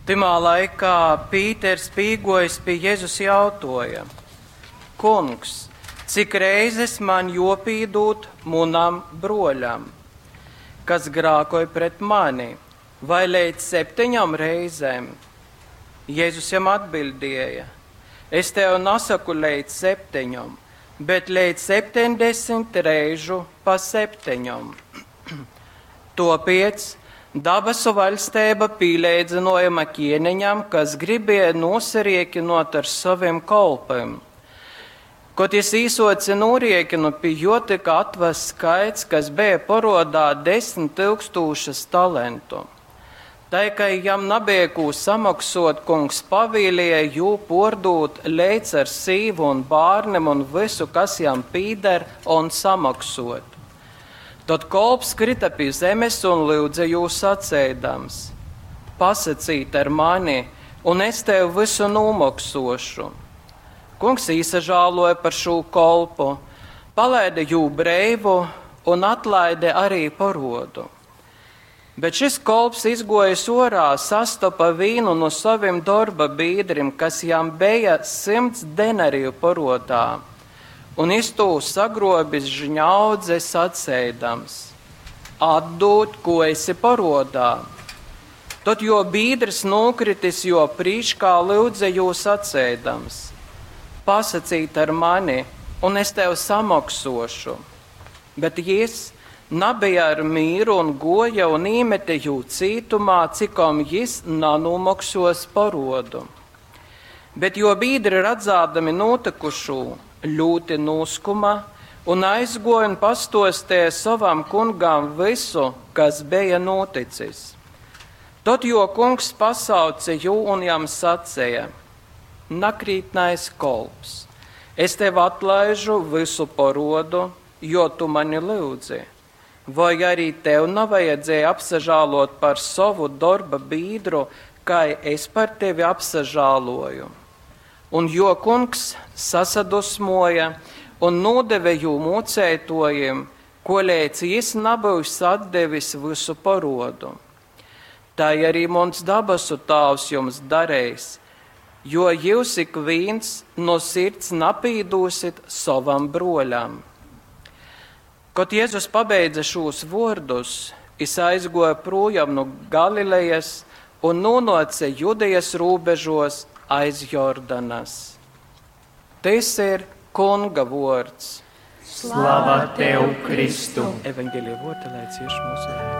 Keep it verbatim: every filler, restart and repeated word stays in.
Tymā laikā Pīters pīgojis pie Jēzus jautoja: Kungs, cik reizes man jopīdūt munam broļam, kas grākoj pret mani, vai līdz septiņām reizēm? Jēzus jam atbildēja: Es tev nesaku līdz septiņom, bet līdz septiņdesmit reižu pa septiņom. Topiec dabasu vaļstība pīleidzinojama ķieniņam, kas gribēja nosariekinot ar saviem kolpiem. Kad jis īsoca noriekinu, pie jo tika atvests skaits, kas bija porodā desmit tūkstošas talentu. Tai, ka jam nebija ko samaksot, kungs pavīlīja jū pordūt leidz ar sīvu un bārnim un visu, kas jam pīder, un samaksot. Tad kolps krita pie zemes un lūdza jū sacēdams: Pasacīt ar mani, un es tev visu nomoksošu. Kungs īsažāloja par šo kolpu, palaida jū breivu un atlaida arī porodu. Bet šis kolps izgojis orā, sastapa vīnu no saviem darba biedriem, kas jam bija simts denariju porodā, un iz to sagrobis žņaudze sacēdams: Atdod, ko esi porodā. Tad jo biedrs nokritis, jo prīškā lūdza jū sacēdams: Pasacīt ar mani, un es tev samoksošu. Bet jis nabija ar mīru un goja un īmete jū cītumā, cikom jis nanomoksos parodu. Bet jo biedri redzādami notikušū, ļoti noskuma un aizgoja un pastostēja savam kungam visu, kas bija noticis. Tad jo kungs pasauca jū un jam sacēja: Nakrītnais kolps, es tev atlaižu visu parodu, jo tu mani lūdzi. Vai arī tev nevajadzēja apsažālot par savu darba biedru, kā es par tevi apsažāloju? Un jo kungs sasadusmoja un nodeve jū mocētojiem, kolēc jis nebūs atdevis visu parodu. Tā arī mans dabasu tāvs jums darējis, jo jūs ik viens no sirds napīdūsit savam broļam. Kad Jēzus pabeidza šos vārdus, jis aizgoja projām no Galilejas un nonāca Judejas robežos aiz Jordanas. Tas ir Kunga vārds. Slava tev, Kristu! Evangelija vārdi, lai cieš mūsu.